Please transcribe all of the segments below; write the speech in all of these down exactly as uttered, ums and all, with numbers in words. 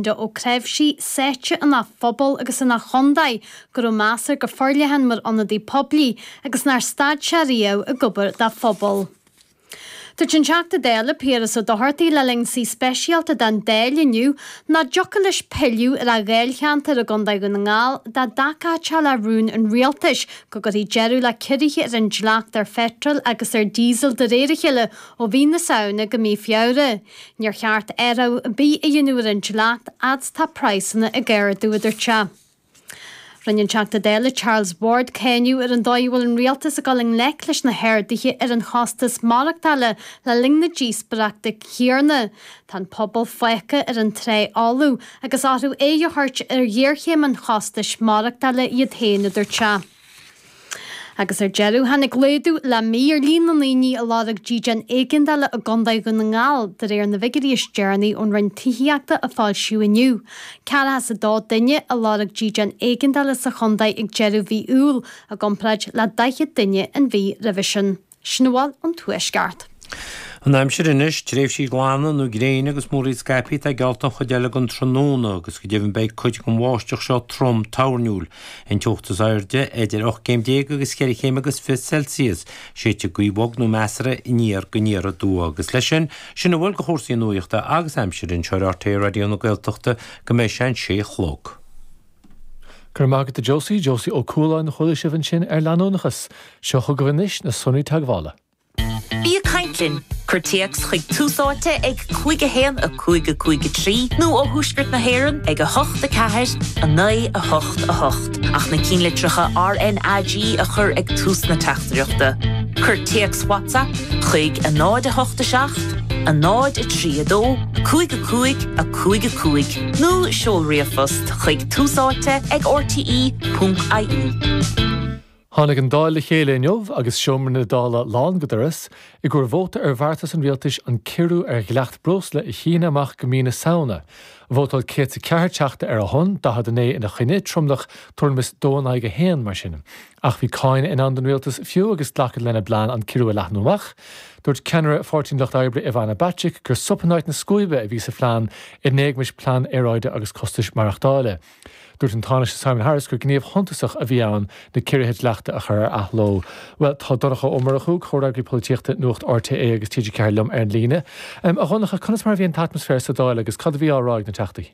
Ó Creimhsí sáite ina phobal agus ina chontae go raibh meas air go forleathan mar ionadaí poiblí agus nár stad sé riamh ag obair dá phobal. Dúirt an Teachta Dála Piaras Ó Dochartaigh le linn suí speisialta den Dáil inniu nach dtiocfadh leis pilleadh ar a dháilcheantar i gContae Dhún na nGall dá dtacódh sé le rún an rialtais go gcuirfí deireadh le ciorruithe ar an dleacht ar pheitreal agus ar dhíosal de réir a chéile ó mhí na Samhna go mí Feabhra. Níor cheart athrú ar bith a dhéanamh ar an dleacht fhad is tá praghsanna ag ardú, a dúirt sé. Rinne an Teachta Dála Charles Ward cáineadh ar an dóigh a bhfuil an rialtas ag dul i ngleic leis na harduithe ar an chostas maireachtála le linn na díospóireachta céanna. Tá an pobal fágtha ar an trá fholamh agus orthu aghaidh a thabhairt ar ghéarchéim an chostais maireachtála iad féin, a dúirt sé. Agus ar deireadh tháinig laghdú le mí ar líon na ndaoine a lorg dídean éigeandála i gContae Dhún na nGall de réir na bhfigiúirí is deireanaí ón Roinn Tithíochta a foilsíodh inniu. Ceathracha is a dó duine a lorg dídean éigeandála sa chontae ag deireadh mhí Iúil i gcomparáid le daichead duine an mhí roimhe sin. Sin a bhfuil ón Tuaisceart. An aimsir anois, tréimhsí glana nó gréine agus múraíl scaipthe atá geallta an chuid eile den tráthnóna agus go deimhin beidh cuid den bháisteach seo trom toirniúil. An teocht is airde idir ocht gcéim déag agus ceithre chéim agus fiche Celsius. Séidfidh gaoth bhog nó measartha aniar go aniar aduaidh agus leis sin, sin a bhfuil de chúrsaí nuachta agus aimsire anseo ar R T É Raidió na Gaeltachta go mbeidh sé an sé a chlog. Go raibh maith agat a Josie, Josie Ó Cualáin a chuala sibh ansin ar leanúnachas. Seo chugaibh anois na sonraí teagmhála. Bí ag caint linn. Cuir téacs chuig Tús Áite ag cúig a haon a cúig a cúig a trí nó ó Thuaisceart na hÉireann ag a hocht a ceathair a naoi a hocht a hocht. Ach na cinnlitreacha R N A G a chur ag tús na teachtaireachta. Cuir téacs WhatsApp chuig a náid a hocht a seacht, a náid a trí a dó, cúig a cúig a cúig a cúig nó seol ríomhphost chuig túsáite ag R T E ponc I E. Tháinig an Dáil le chéile inniu agus seomra na Dála lán go doras i gcomhair vóta ar bheartas an rialtais an ciorrú ar dhleacht breosla a shíneadh amach go mí na Samhna. Vótáil céad a ceathair teachta ar a shon, daichead a naoi ina choinne, tromlach tuairim is dó in aghaidh a haon mar sin. Ach bhí cáineadh in ann don rialtas fiú agus glacadh lena bplean an ciorrú a leathnú amach. Dúirt ceannaire Pháirtí an Lucht Oibre Ivana Bacik gur sop in áit na scuaibe a bhí sa phlean in éagmais plean aeráide agus costais maireachtála. Dúirt an Tánaiste Simon Harris gur gníomh shuntasach a bhí ann na ciorruithe dleachta a chur ar athló. Well tá Donncha Ó Murchú, comhfhreagraí polaitíochta Nuacht R T É agus T G ceathair liom ar an líne. Um, a Dhonncha, conas mar a bhí an t-atmaisféar sa Dáil agus cad a bhí á rá ag na teachtaí?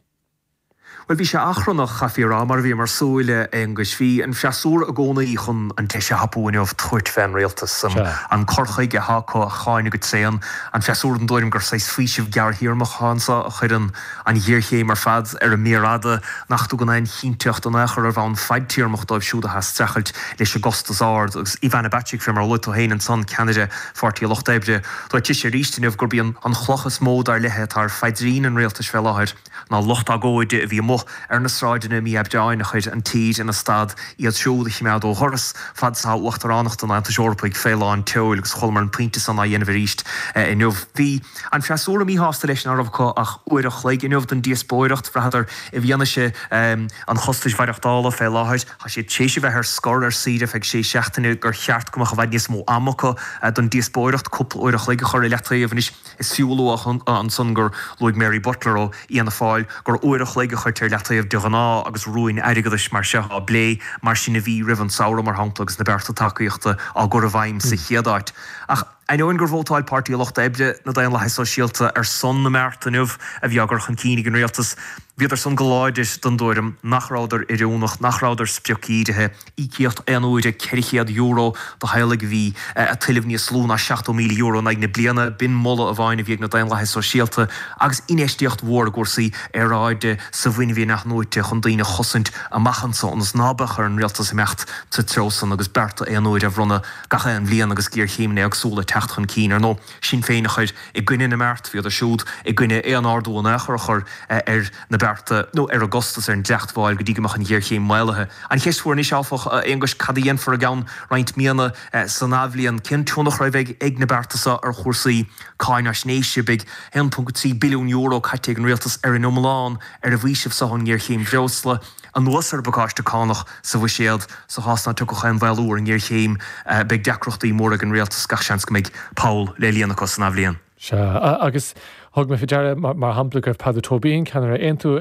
Well bhí sé achrannach, chaithfí a rá, mar a bhí mar súil agus bhí an freasúra i gcónaí chun an deis a thapú inniu tabhairt fén rialtas an cur chuige atá acu a cháineadh go tréan, an freasúra den tuairim gur saghas faoiseamh gearrthéarmach anseo a chuireann an ghéarchéim ar fad ar an méar fhada nach dtugann aon chinnteacht in aon chor ar bhonn fadtéarmach dóibh siúd atá ag streachailt leis an gcostas ard agus Ivana Bacik fé mar a luaigh tú féin ansan, ceannaire Pháirtí Lucht Oibre. Dúirt sise arís inniu gurb í an chloch is mó dar léi atá ar phaidrín an rialtais fé láthair ná lucht agóide a bhí amuigh ar na sráideanna mí Aibreáin a chuir an tír ina stad iad siúd a choimeád ó dhoras fad is atá uachtaránacht an Aontais Eorpaigh fé lán tseoil agus chualamar an pointe san á dhéanamh arís inniu. Bhí an freasúra míshásta leis nach raibh acu ach uair a chloig inniu don díospóireacht. Bhraitheadar i bhfianaise an chostais mhaireachtála fé láthair, tá siad tar éis a bheith ar scor ar saoire feadh sé seachtaine gur cheart go mbeadh i bhfad níos mó ama acu don díospóireacht, cúpla uair a chloig a chur i leataobh. Anois is fiú a lua ansan gur luaigh Mary Butler ó Fhianna Fáil gur uair a chloig a chuirtear i leataobh de ghnáth agus rúin airgeadais mar seo á bplé, mar sin a bhí roimh an samhradh mar shampla agus na bearta tacaíochta á gcur i bhfeidhm sa chéad áit. Ach ainneoin gur vótáil Páirtí Lucht Oibre, na Daonlathaithe Sóisialta ar son na mbeart inniu a bhí á gcur chun cinn ag an rialtas, bhíodar san go láidir den tuairim nach rabhadar oiriúnach, nach rabhadar spriocdhírithe. Íocaíocht aon uaire ceithre chéad euro do theaghlaigh a bhí ag tuilleamh níos lú ná seachtó míle euro in aghaidh na bliana, b'in moladh amháin a bhí ag na Daonlathaithe Sóisialta agus infheistíocht mhór i gcúrsaí aeráide sa bhfuinneamh in-athnuaite chun daoine a chosaint amach anseo ionas ná beadh ar an rialtas imeacht sa treo san agus bearta aon uaire a bhronnadh gach aon bhliain agus géarchéimeanna éagsúla ag teacht chun cinn. Ar ndóigh, Sinn Féin a chuir i gcoinne na mbeart, bhíodar siúd i gcoinne aon ardú in aon chor a chur ar na bearta nó ar an gcostas ar an dleacht mháil go dtí go mbeadh an ghéarchéim maolaithe. An cheist mhór anois, áfach, a Aonghuis, cad a dhéanfar i gceann roinnt míonna san athbhliain? Cén tionchar a bheidh ag na bearta seo ar chúrsaí cáinaisnéise? Beidh a haon ponc trí billiún euro caite ag an rialtas ar an iomlán ar an bhfaoiseamh seo ón ngéarchéim bhreosla. Anuas ar an bpacáiste cánach sa bhuiséad, sa chás ná tiocfadh aon mhaolú ar an ngéarchéim, beidh deacrachtaí móra ag an rialtas, gach seans go mbeidh poll le líonadh acu san athbhliain. Sea, agus Thug mé faoi deara mar shampla go raibh Peadar Tóibín, ceannaire Aontú,